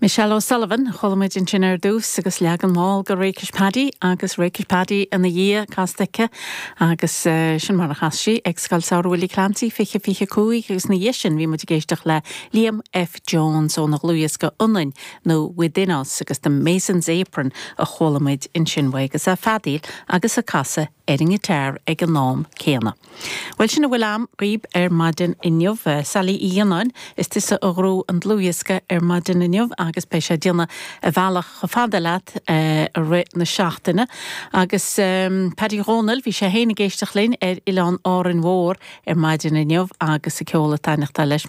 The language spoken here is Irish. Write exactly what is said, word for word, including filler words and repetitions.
Michelle O'Sullivan chuala muid ansin ar dtús agus leagan mall de Rakish Paddy agus Rakish Paddy ina dhiaidh casta aici agus uh, sin mar a chas sí ag Scoil Samhraidh Willie Clancy fiche fiche cúig agus ina dhiaidh sin bhí muid ag éisteacht le Liam F. Jones óna dhlúthdhiosca Ionainn nó Within Us agus the Mason's Apron a chuala muid ansin uaidh agus é ag feadaíl agus ag casadh ar an ngiotár ag an am céanna. Well sin a bhfuil agam daoibh ar maidin inniu Sally Uí Fhionnáin is tusa a ghnóthaigh an dlúthdhiosca ar maidin inniu agus beidh sé ag déanamh a bhealach chomh fada leat i rith na seachtaine. agus um, Paddy Dhónaill bhí sé féin ag éisteacht linn ar Oileán Árainn Mhór ar maidin inniu agus a ceol ag taitneamh leis.